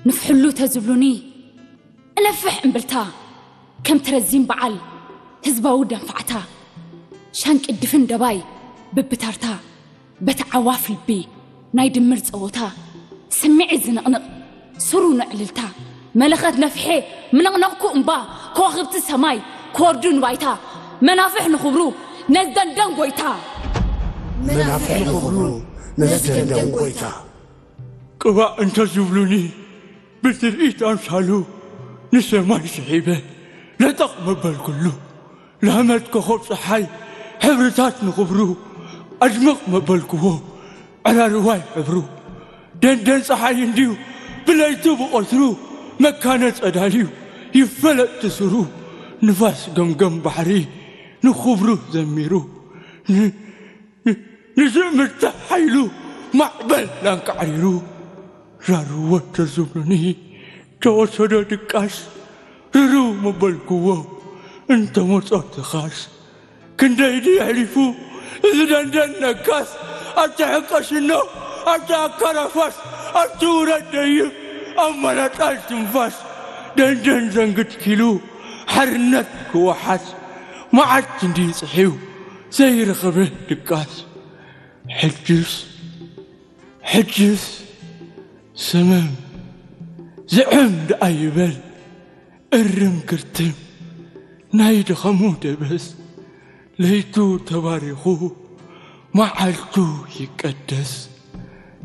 ንፍሕሉ ተዝብሉኒ እነፍሕ እምብልታ፣ ከም ትረዚን በዓል ህዝባዊ ደንፋዕታ፣ ሻንቂ ድፍን ደባይ ብብታርታ፣ በቲ ዓዋፍ ልቢ ናይ ድምር ጸወታ፣ ስምዒት ዝንቕንቕ ስሩ ንዕልልታ፣ መለኸት ነፍሐ ምንቕነቕኩ እምባ፣ ከዋኽብቲ ሰማይ ክወርዱ ንባይታ፣ መናፍሕ ንኽብሩ ነዝደንደን ጎይታ። መናፍሕ ንኽብሩ ነዝደንደን ጎይታ። ቅባእ እንተ ዝብሉኒ ብትርኢት ኣምሳሉ ንሰማይ ስሒበ ለጠቕ መበልኩሉ። ላመት ኮኸብ ጸሓይ ሕብርታት ንኽብሩ ኣድምቕ መበልክዎ። ዕራርዋይ ሕብሩ ደንደን ጸሓይ እንድዩ ብለይቱ ብቐትሩ መካነ ጸዳልዩ ይፈለጥ ትስሩ። ንፋስ ገምገም ባሕሪ ንኽብሩ ዘሚሩ ንዝእምርታ ሓይሉ ማዕበል ላንቃዕሪሩ ራርዎ ተዝብሉኒ ተወሰዶ ድቃስ ርርው ምበልክዎ እንተመጾ ትኻስ ክንደይ ድዩ ኣሕሊፉ እዚ ደንደን ነጋስ ኣብቲ ሕቀሽኖ ኣብቲ ኣካራፋስ ኣብቲ ውረድ ደይብ ኣማላጣል ትንፋስ ደንደን ዘንግት ኪሉ ሓርነት ክወሓስ መዓት እንዲ ጽሒው ዘይረኸበ ድቃስ ሕጅስ ሕጅስ ሰመም ዝዕም ደኣ ይበል እርም ግርትም ናይ ድኸሙ ደበስ ለይቱ ተባሪኹ መዓልቱ ይቀደስ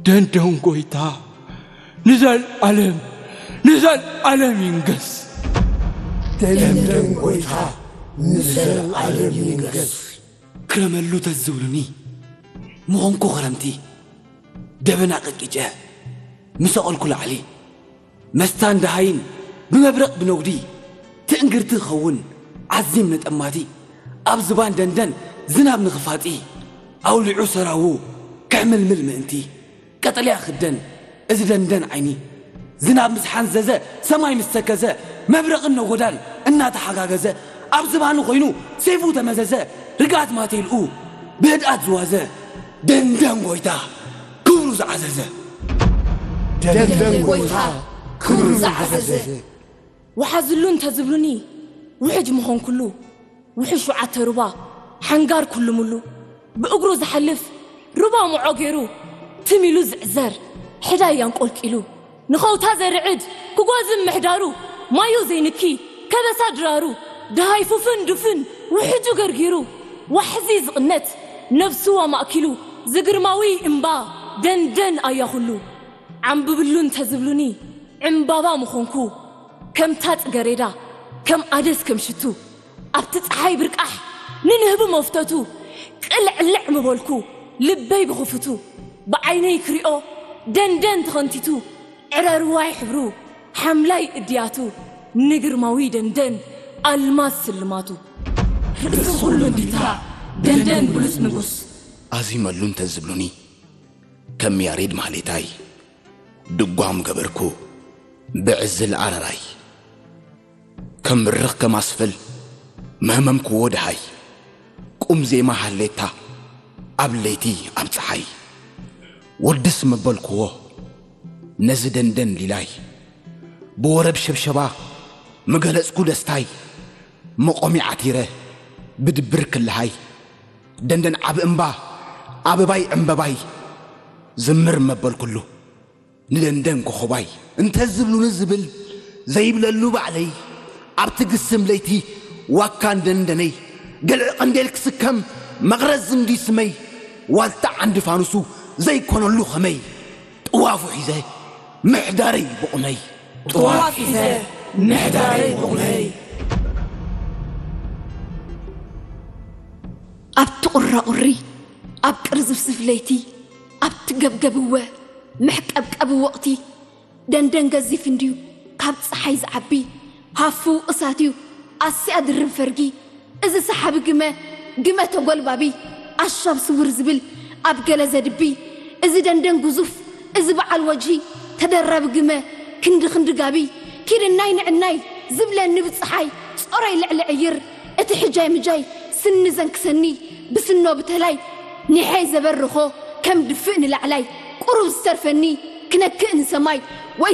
ደንደን ጎይታ ንዘልኣለም ንዘልኣለም ይንገስ። ደንደን ጎይታ ንዘልኣለም ይንገስ። ክረመሉ ተዝብሉኒ ምኾንኩ ክረምቲ ደበና ቀቂጨ ምሰቐልኩ ላዕሊ መስታን ደሃይን ብመብረቕ ብነጉዲ ትእንግርቲ ክኸውን ዓዚም ነጠማቲ ኣብ ዝባን ደንደን ዝናብ ንኽፋጢ ኣውሊዑ ሰራዉ ከሕምልምል ምእንቲ ቀጠልያ ክደን እዚ ደንደን ዓይኒ ዝናብ ምስ ሓንዘዘ ሰማይ ምስ ተከዘ መብረቕን ነጎዳን እናተሓጋገዘ ኣብ ዝባኑ ኮይኑ ሴፉ ተመዘዘ ርግኣት ማቴልኡ ብህድኣት ዝዋዘ ደንደን ጎይታ ክብሩ ዝዓዘዘ ደንደን ጎይታ ክብሩ ዝዓዘዘ ወሓዝሉ እንተዝብሉኒ ውሕጅ ምኾንኩሉ ውሕጅ ሸውዓተ ሩባ ሓንጋር ኩልምሉ ብእግሩ ዝሓልፍ ሩባ ምዖ ገይሩ ትም ኢሉ ዝዕዘር ሕዳይ ኣንቆልቂሉ ንኸውታ ዘርዕድ ክጓዝም ምሕዳሩ ማዩ ዘይንኪ ከበሳ ድራሩ ደሃይ ፉፍን ዱፍን ውሕጁ ገርጊሩ ዋሕዚ ዝቕነት ነብሱ ኣማእኪሉ ዝግርማዊ እምባ ደንደን ኣያ ኩሉ ዓምብብሉ እንተዝብሉኒ ዕምባባ ምኾንኩ ከምታ ጽገሬዳ ከም ኣደስ ከም ሽቱ ኣብቲ ጸሓይ ብርቃሕ ንንህቢ መፍተቱ ቅልዕልዕ ምበልኩ ልበይ ብኽፍቱ ብዓይነይ ክሪኦ ደንደን ተኸንቲቱ ዕረርዋይ ሕብሩ ሓምላይ እድያቱ ንግርማዊ ደንደን ኣልማዝ ስልማቱ ርእሲ ኩሉ እንዲታ ደንደን ብሉጽ ንጉስ ኣዚመሉ እንተዝብሉኒ ከም ያሬድ ማህሌታይ ድጓ ምገበርኩ ብዕዝል ኣረራይ ከም ብርኽ ከም ኣስፍል መህመምክዎ ደሃይ ቁም ዜማ ሃሌታ ኣብ ለይቲ ኣብ ጸሓይ ወድስ መበልክዎ ነዚ ደንደን ሊላይ ብወረብ ሸብሸባ ምገለጽኩ ደስታይ መቆሚ ዓቲረ ብድብር ክልሃይ ደንደን ዓቢ እምባ ኣበባይ ዕምበባይ ዝምር መበልኩሉ ንደንደን ኮኾባይ እንተዝብሉኒ ዝብል ዘይብለሉ ባዕለይ ኣብቲ ግስም ለይቲ ዋካን ደንደነይ ገልዒ ቀንዴል ክስከም መቕረዝ ዝንዲ ስመይ ዋልታ ዓንዲ ፋኑሱ ዘይኮነሉ ኸመይ ጥዋፉ ሒዘ ምሕዳረይ ብቑመይ ጥዋፍ ሒዘ ምሕዳረይ ብቑመይ ኣብቲ ቁራቑሪ ኣብ ቅርዝፍዝፍ ለይቲ ኣብቲ ገብገብ እወ መሕቀብቀቢ ወቕቲ ደንደን ገዚፍ እንድዩ ካብ ጸሓይ ዝዓቢ ሃፉ እሳት እዩ ኣስያ ድርብ ፈርጊ እዚ ሰሓቢ ግመ ግመ ተጎልባቢ ኣሻብ ስውር ዝብል ኣብ ገለ ዘድቢ እዚ ደንደን ግዙፍ እዚ በዓል ወጅሂ ተደራቢ ግመ ክንዲ ክንዲ ጋቢ ኪድናይ ንዕናይ ዝብለኒ ብጸሓይ ጾረይ ልዕሊ ዕይር እቲ ሕጃይ ምጃይ ስኒ ዘንክሰኒ ብስኖ ብተላይ ኒሐይ ዘበርኾ ከም ድፍእ ንላዕላይ ቁሩብ ዝተርፈኒ ክነክእ ንሰማይ ወይ